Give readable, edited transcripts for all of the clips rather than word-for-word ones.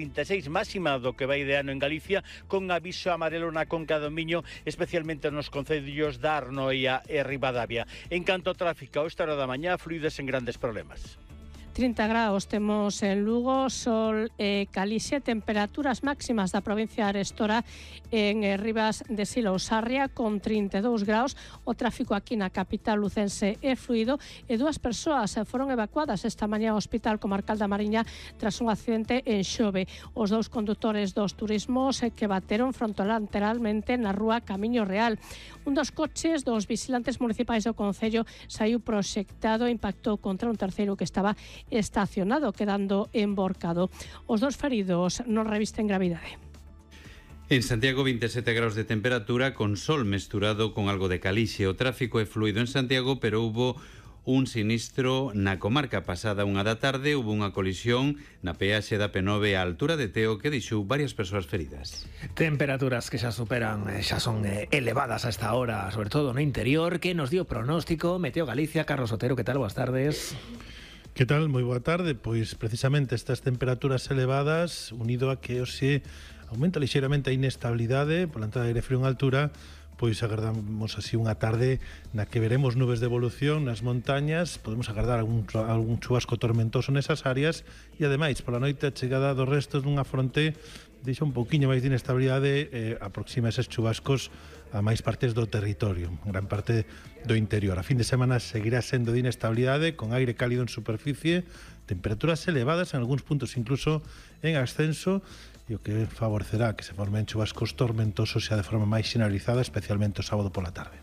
36, máxima do que vai de ano en Galicia, con aviso amarelo na Conca do Miño, especialmente nos concellos da Arnoia e Ribadavia. En canto ao tráfico, a esta hora da mañá, fluides en grandes problemas. 30 graus temos en Lugo, sol e Calixe, temperaturas máximas da provincia de Arestora en Rivas de Silo Sarria con 32 graus. O tráfico aquí na capital lucense é fluido e 2 persoas foron evacuadas esta mañá ao Hospital Comarcal da Mariña tras un accidente en Xove. Os 2 condutores dos turismos que bateron frontolateralmente na rúa Camiño Real. Un dos coches dos vigilantes municipais do concello saiu proxectado e impactou contra un terceiro que estaba estacionado, quedando emborcado. Os 2 feridos non revisten gravidade. En Santiago, 27 graus de temperatura con sol mesturado con algo de calixe. O tráfico é fluido en Santiago, pero hubo un sinistro na comarca. Pasada 1 da tarde, hubo unha colisión na peaxe da P9 á altura de Teo que deixou varias persoas feridas. Temperaturas que xa superan, xa son elevadas a esta hora, sobre todo no interior, que nos dio pronóstico Meteo Galicia. Carlos Otero, que tal? Boas tardes. Que tal? Moi boa tarde. Pois precisamente estas temperaturas elevadas, unido a que hoxe aumenta lixeiramente a inestabilidade pola entrada de aire frío en altura, pois agardamos así unha tarde na que veremos nubes de evolución nas montañas, podemos agardar algún chubasco tormentoso nesas áreas e ademais pola noite a chegada dos restos dunha fronte deixa un pouquiño máis de inestabilidade, aproxima eses chubascos a máis partes do territorio, gran parte do interior. A fin de semana seguirá sendo de inestabilidade, con aire cálido en superficie, temperaturas elevadas en algúns puntos incluso en ascenso, e o que favorecerá que se formen chubascos tormentosos xa de forma máis generalizada, especialmente o sábado pola tarde.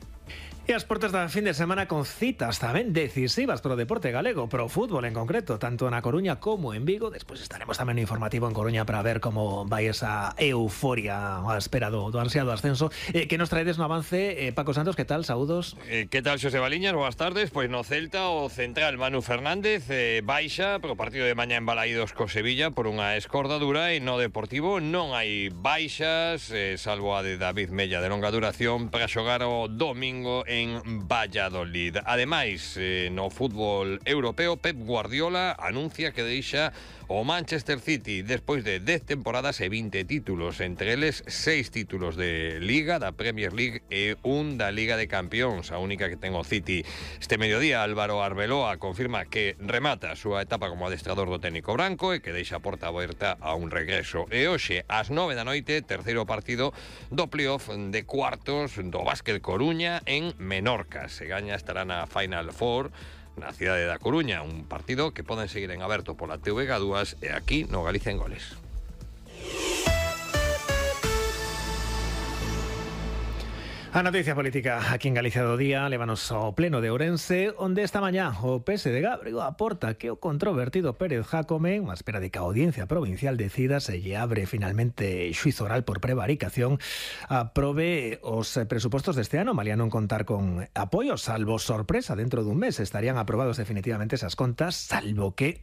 E as portas da fin de semana con citas tamén decisivas pro deporte galego, pro fútbol en concreto, tanto na Coruña como en Vigo. Despois estaremos tamén no informativo en Coruña para ver como vai esa euforia á espera do ansiado ascenso. Que nos traedes no avance, Paco Santos, que tal? Saúdos. Que tal, Xosé Baliñas? Boas tardes. Pois no Celta o central Manu Fernández baixa pro partido de mañá en Balaídos co Sevilla por unha escordadura, e no Deportivo non hai baixas, salvo a de David Mella de longa duración, para xogar o domingo en Valladolid. Ademais, no fútbol europeo, Pep Guardiola anuncia que deixa o Manchester City despois de 10 temporadas e 20 títulos, entre eles 6 títulos de Liga, da Premier League e un da Liga de Campións, a única que ten o City. Este mediodía Álvaro Arbeloa confirma que remata a súa etapa como adestrador do técnico branco e que deixa a porta aberta a un regreso. E hoxe, ás 9 da noite, terceiro partido do playoff de cuartos do Básquet Coruña en Menorca. Se gaña estará na Final Four na cidade da Coruña, un partido que poden seguir en aberto pola TVG2 e aquí no Galicia en Goles. A noticia política aquí en Galicia do día lévanos ao pleno de Ourense, onde esta mañá o PSD abriu a porta que o controvertido Pérez Jácome, unha espera de que a Audiencia Provincial decida se lle abre finalmente xuizo oral por prevaricación, aprobe os presupostos deste ano, malia non contar con apoio, salvo sorpresa, dentro dun mes estarían aprobados definitivamente esas contas, salvo que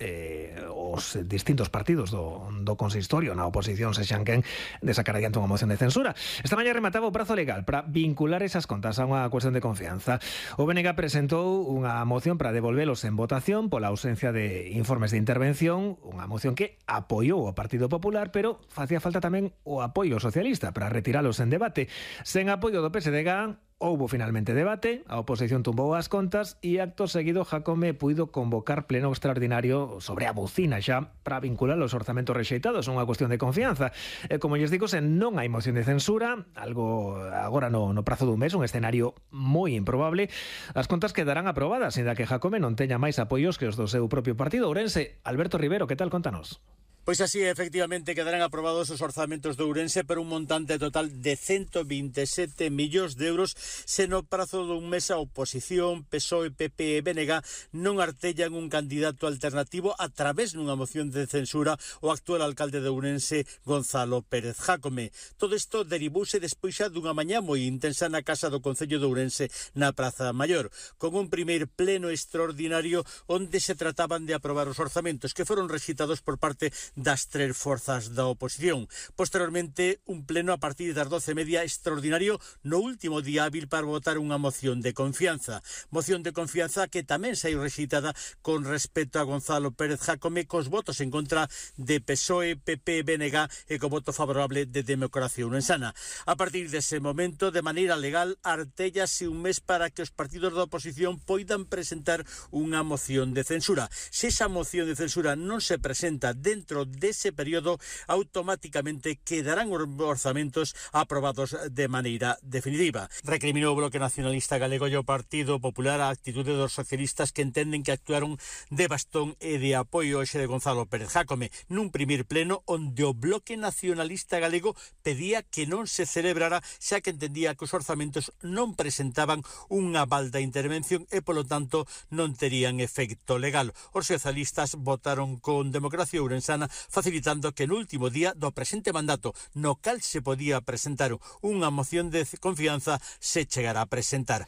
os distintos partidos do consistorio na oposición se xanquen de sacar adiante unha moción de censura. Esta mañá remataba o prazo legal para vincular esas contas a unha cuestión de confianza. O BNG presentou unha moción para devolvelos en votación pola ausencia de informes de intervención, unha moción que apoiou o Partido Popular, pero facía falta tamén o apoio socialista para retiralos en debate. Sen apoio do PSDG, houbo finalmente debate, a oposición tumbou as contas e acto seguido Jácome puido convocar pleno extraordinario sobre a bocina xa para vincular os orzamentos rexeitados a unha cuestión de confianza. Como lles digo, se non hai moción de censura, algo agora no prazo dun mes, un escenario moi improbable, as contas quedarán aprobadas, ainda que Jácome non teña máis apoios que os do seu propio partido. Ourense, Alberto Rivero, que tal? Contanos. Pois así, efectivamente, quedarán aprobados os orzamentos de Ourense por un montante total de 127 millóns de euros se no prazo dun mes a oposición, PSOE, PP e BNG non artellan un candidato alternativo a través dunha moción de censura o actual alcalde de Ourense, Gonzalo Pérez Jácome. Todo isto derivouse despois xa dunha mañá moi intensa na Casa do Concello de Ourense na Praza Maior, con un primeiro pleno extraordinario onde se trataban de aprobar os orzamentos que foron rexitados por parte das 3 forzas da oposición. Posteriormente, un pleno a partir das 12:30 extraordinario no último día hábil para votar unha moción de confianza. Moción de confianza que tamén saiu rexeitada con respecto a Gonzalo Pérez Jácome, cos votos en contra de PSOE, PP, BNG e co voto favorable de Democracia Ourensana. A partir dese momento, de maneira legal, artéllase un mes para que os partidos da oposición poidan presentar unha moción de censura. Se esa moción de censura non se presenta dentro dese período, automáticamente quedarán os orzamentos aprobados de maneira definitiva. Recriminou o Bloque Nacionalista Galego e o Partido Popular a actitude dos socialistas que entenden que actuaron de bastón e de apoio hoxe de Gonzalo Pérez Jácome nun primeiro pleno onde o Bloque Nacionalista Galego pedía que non se celebrara, xa que entendía que os orzamentos non presentaban un aval da intervención e, polo tanto, non terían efecto legal. Os socialistas votaron con Democracia Ourensana, facilitando que no último día do presente mandato, no cal se podía presentar unha moción de confianza, se chegará a presentar.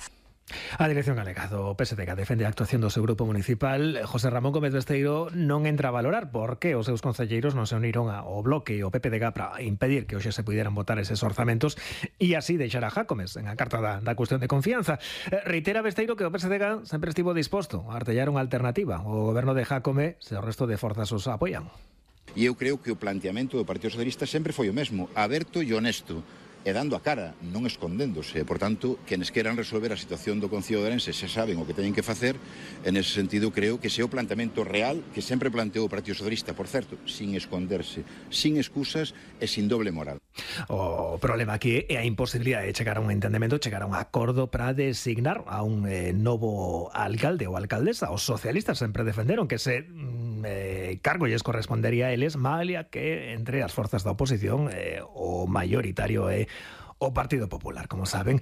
A Dirección Galega do PSDG defende a actuación do seu grupo municipal. José Ramón Gómez Besteiro non entra a valorar por que os seus concelleiros non se uniron ao Bloque e ao PPDG para impedir que hoxe se puderan votar eses orzamentos e así deixar a Jácomes en a carta da cuestión de confianza. Reitera Besteiro que o PSDG sempre estivo disposto a artellar unha alternativa ao goberno de Jácome se o resto de forzas os apoian. E eu creo que o planteamento do Partido Socialista sempre foi o mesmo, aberto e honesto, e dando a cara, non escondéndose. Por tanto, quenes queran resolver a situación do Concello de Ourense se saben o que teñen que facer. En ese sentido, creo que ese é o planteamento real que sempre planteou o Partido Socialista, por certo, sin esconderse, sin excusas e sin doble moral. O problema aquí é a imposibilidade de chegar a un entendemento, chegar a un acordo para designar a un novo alcalde ou alcaldesa. Os socialistas sempre defenderon que ese cargo lles correspondería a eles, malia que entre as forzas da oposición o maioritario é o Partido Popular, como saben.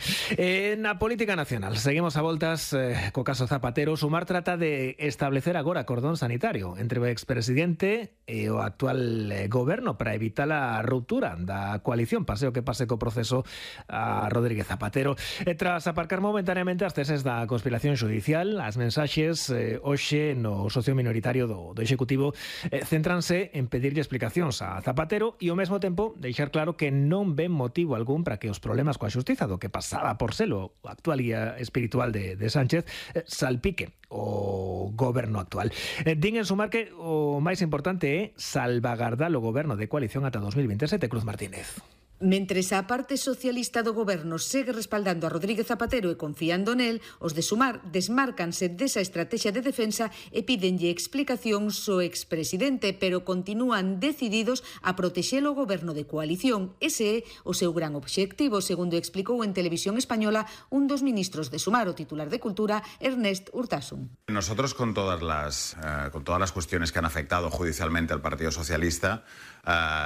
Na política nacional, seguimos a voltas co caso Zapatero. Sumar trata de establecer agora cordón sanitario entre o expresidente e o actual goberno para evitar a ruptura da coalición, pase o que pase co proceso a Rodríguez Zapatero. Tras aparcar momentaneamente as teses da conspiración judicial, as mensaxes hoxe no socio minoritario do Executivo céntranse en pedirlle explicacións a Zapatero e ao mesmo tempo deixar claro que non ven motivo algún para que os problemas coa xustiza do que pasaba por selo o actual guía espiritual de Sánchez salpique o goberno actual. Din en sumar que o máis importante é salvagardar o goberno de coalición ata 2027. Cruz Martínez. Mentres a parte socialista do goberno segue respaldando a Rodríguez Zapatero e confiando nel, os de Sumar desmárcanse desa estrategia de defensa e pídenlle explicacións ao expresidente, pero continúan decididos a protexer o goberno de coalición. Ese é o seu gran obxectivo, segundo explicou en Televisión Española un dos ministros de Sumar, o titular de Cultura, Ernest Urtasun. Nosotros con todas las cuestiones que han afectado judicialmente al Partido Socialista,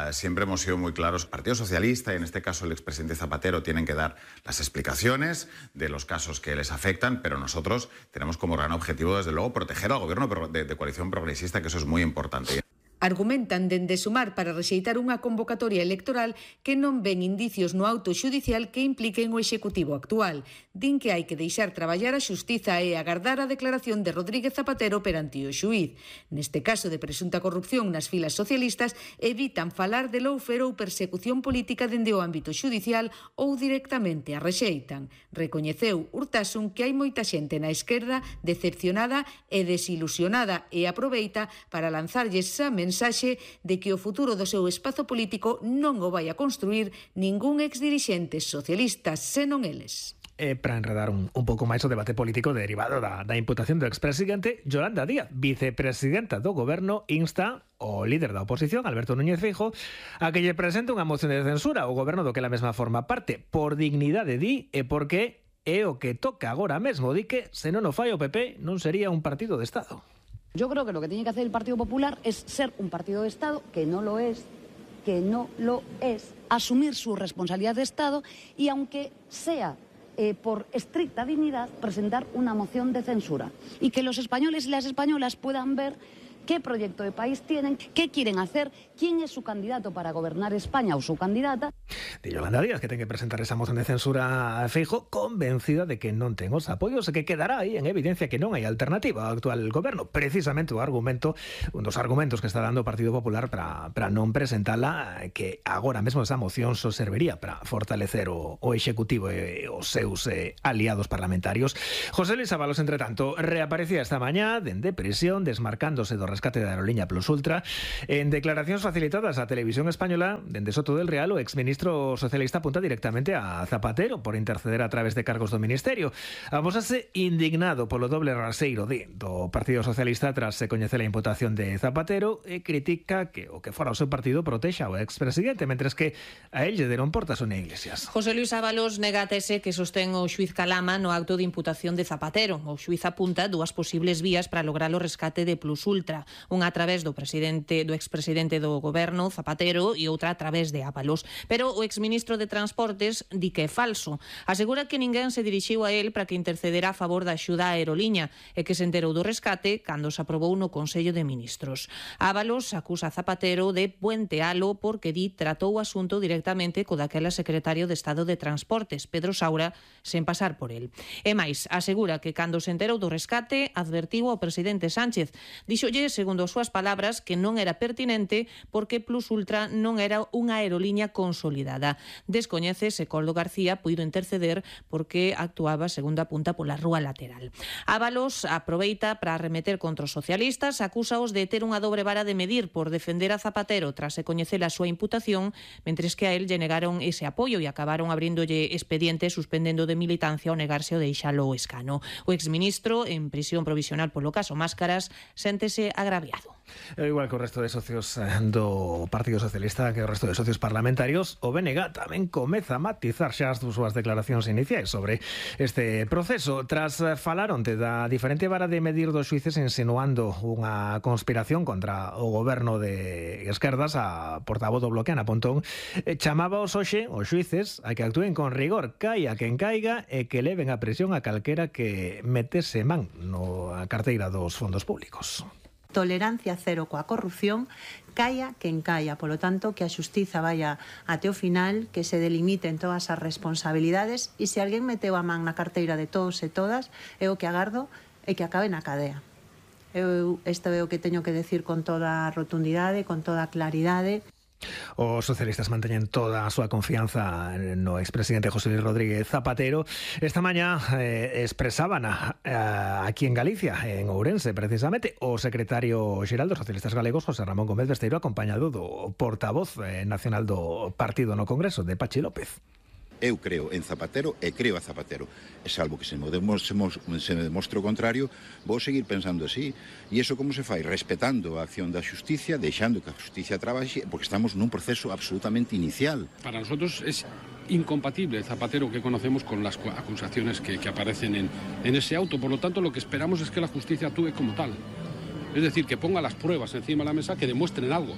siempre hemos sido muy claros. El Partido Socialista y en este caso el expresidente Zapatero tienen que dar las explicaciones de los casos que les afectan, pero nosotros tenemos como gran objetivo, desde luego, proteger al gobierno de coalición progresista, que eso es muy importante. Argumentan dende Sumar para rexeitar unha convocatoria electoral que non ven indicios no auto xudicial que impliquen o executivo actual. Din que hai que deixar traballar a xustiza e agardar a declaración de Rodríguez Zapatero perante o xuíz. Neste caso de presunta corrupción nas filas socialistas, evitan falar de lawfare ou persecución política dende o ámbito xudicial ou directamente a rexeitan. Recoñeceu Urtasun que hai moita xente na esquerda decepcionada e desilusionada e aproveita para lanzarlles esa mensaxe de que o futuro do seu espazo político non o vai a construir ningún exdirixente socialista, senón eles. Para enredar un pouco máis o debate político derivado da imputación do expresidente, Yolanda Díaz, vicepresidenta do goberno, insta o líder da oposición, Alberto Núñez Feijóo, a que lle presente unha moción de censura ao goberno do que la mesma forma parte, por dignidade, di, e porque é o que toca agora mesmo, di que se non o fai o PP non sería un partido de Estado. Yo creo que lo que tiene que hacer el Partido Popular es ser un partido de Estado, que no lo es, asumir su responsabilidad de Estado y, aunque sea por estricta dignidad, presentar una moción de censura. Y que los españoles y las españolas puedan ver qué proyecto de país tienen, qué quieren hacer, quién es su candidato para gobernar España o su candidata. De Yolanda Díaz, que ten que presentar esa moción de censura a Feijóo, convencida de que non ten os apoios e que quedará aí en evidencia que non hai alternativa ao actual goberno. Precisamente un dos argumentos que está dando o Partido Popular para non presentala, que agora mesmo esa moción só serviría para fortalecer o Executivo e os seus aliados parlamentarios. José Luis Ábalos, entre tanto, reaparecía esta mañá dende prisión, desmarcándose do rescate da aerolínea Plus Ultra. En declaracións facilitadas á Televisión Española, dende Soto del Real, o exministro socialista apunta directamente a Zapatero por interceder a través de cargos do Ministerio. Amosase indignado polo doble raseiro do Partido Socialista tras se coñecer a imputación de Zapatero e critica que o que fora o seu partido protexa ao expresidente, mentres que a él lle deron portas Sonia Iglesias. José Luis Ábalos nega a tese que sostén o xuiz Calama no acto de imputación de Zapatero. O xuiz apunta dúas posibles vías para lograr o rescate de Plus Ultra, unha a través do expresidente do goberno, Zapatero, e outra a través de Ábalos. Pero o exministro de Transportes di que é falso. Asegura que ninguén se dirixiu a él para que intercedera a favor da axuda á aeroliña e que se enterou do rescate cando se aprobou no Consello de Ministros. Ábalos acusa a Zapatero de puentealo porque di tratou o asunto directamente co daquela secretario de Estado de Transportes, Pedro Saura, sen pasar por él. E máis, asegura que cando se enterou do rescate advertiu ao presidente Sánchez. Díxolle, segundo as súas palabras, que non era pertinente porque Plus Ultra non era unha aeroliña consolidada. Descoñece se Coldo García puido interceder porque actuaba, segundo apunta, pola rúa lateral. Ábalos aproveita para arremeter contra os socialistas, acúsaos de ter unha dobre vara de medir por defender a Zapatero tras se coñecer a súa imputación, mentres que a él lle negaron ese apoio e acabaron abrindolle expediente suspendendo de militancia ao negarse o deixalo o escano. O exministro, en prisión provisional polo caso Máscaras, séntese agraviado. Igual que o resto de socios do Partido Socialista, que o resto de socios parlamentarios, o BNG tamén comeza a matizar xa as súas declaracións iniciais sobre este proceso. Tras falar onte da diferente vara de medir dos xuíces insinuando unha conspiración contra o goberno de esquerdas, a portavoz do Bloque, Ana Pontón, chamaba os hoxe, os xuíces, a que actúen con rigor, caia quen caiga, e que leven a presión a calquera que metese man na carteira dos fondos públicos. Tolerancia cero coa corrupción, caia quen caia. Polo tanto, que a xustiza vaya até o final, que se delimiten todas as responsabilidades, e se alguén meteu a man na carteira de todos e todas, é o que agardo é que acabe na cadea. Isto é o que teño que decir con toda a rotundidade, con toda a claridade. Os socialistas manteñen toda a súa confianza no expresidente José Luis Rodríguez Zapatero. Esta mañá expresaban aquí en Galicia, en Ourense, precisamente, o secretario xeral dos socialistas galegos, José Ramón Gómez Besteiro, acompañado do portavoz nacional do partido no Congreso, de Pachi López. Eu creo en Zapatero e creo a Zapatero. E salvo que se me demostre o contrario, vou seguir pensando así. E iso como se fai? Respetando a acción da xusticia, deixando que a xusticia trabaxe, porque estamos nun proceso absolutamente inicial. Para nosotros es incompatible el Zapatero que conocemos con las acusaciones que aparecen en ese auto. Por lo tanto, lo que esperamos es que la justicia actúe como tal. Es decir, que ponga las pruebas encima de la mesa que demuestren algo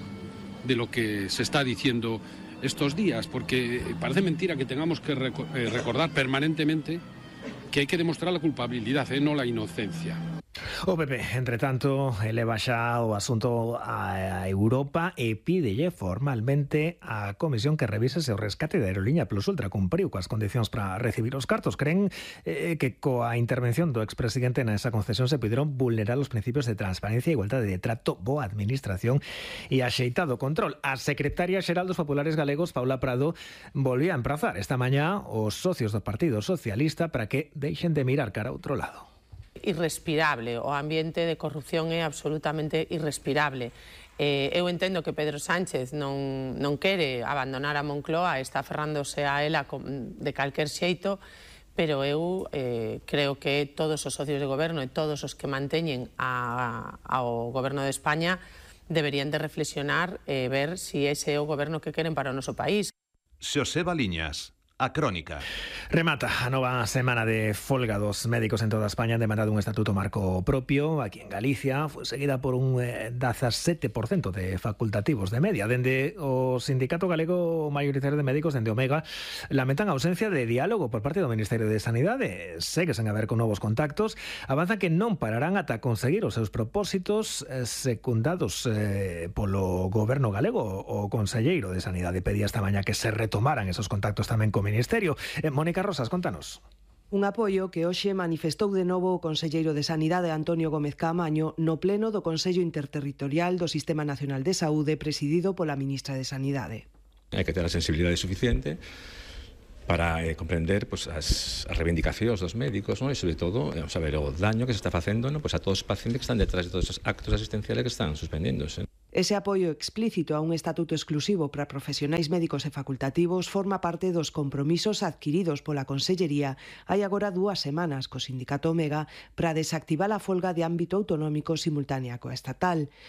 de lo que se está diciendo estos días, porque parece mentira que tengamos que recordar permanentemente que hai que demostrar la culpabilidad, no la inocencia. O PP, entre tanto, eleva xa o asunto a Europa e pídelle formalmente á comisión que revise se o rescate da aeroliña Plus Ultra cumpriu coas condicións para recibir os cartos. Creen que coa intervención do expresidente nesa concesión se puderon vulnerar os principios de transparencia, igualdade de trato, boa administración e axeitado control. A secretaria xeral dos Populares Galegos, Paula Prado, volvía a emprazar esta mañá os socios do Partido Socialista para que deixen de mirar cara a outro lado. Irrespirable, o ambiente de corrupción é absolutamente irrespirable. Eu entendo que Pedro Sánchez non quere abandonar a Moncloa, está aferrándose a ela de calquer xeito, pero eu creo que todos os socios de goberno e todos os que manteñen ao goberno de España deberían de reflexionar e ver se ese é o goberno que queren para o noso país. Xosé Baliñas, A Crónica. Remata a nova semana de folga dos médicos en toda España demandado un estatuto marco propio. Aquí en Galicia foi seguida por un 17% de facultativos de media. Dende o Sindicato Galego Maioritario de Médicos, dende Omega, lamentan a ausencia de diálogo por parte do Ministerio de Sanidade. Segue sen haber con novos contactos. Avanzan que non pararán ata conseguir os seus propósitos secundados polo goberno galego. O conselleiro de Sanidade pedía esta mañá que se retomaran esos contactos tamén co Ministerio. Mónica Rosas, contanos. Un apoio que hoxe manifestou de novo o conselleiro de Sanidade Antonio Gómez Caamaño no pleno do Consello Interterritorial do Sistema Nacional de Saúde presidido pola ministra de Sanidade. Hai que ter a sensibilidade suficiente para comprender as reivindicacións dos médicos, e sobre todo saber o daño que se está facendo a todos os pacientes que están detrás de todos os actos asistenciales que están suspendéndose. Ese apoio explícito a un estatuto exclusivo para profesionais médicos e facultativos forma parte dos compromisos adquiridos pola Consellería hai agora 2 semanas co Sindicato Omega para desactivar a folga de ámbito autonómico simultánea coa estatal.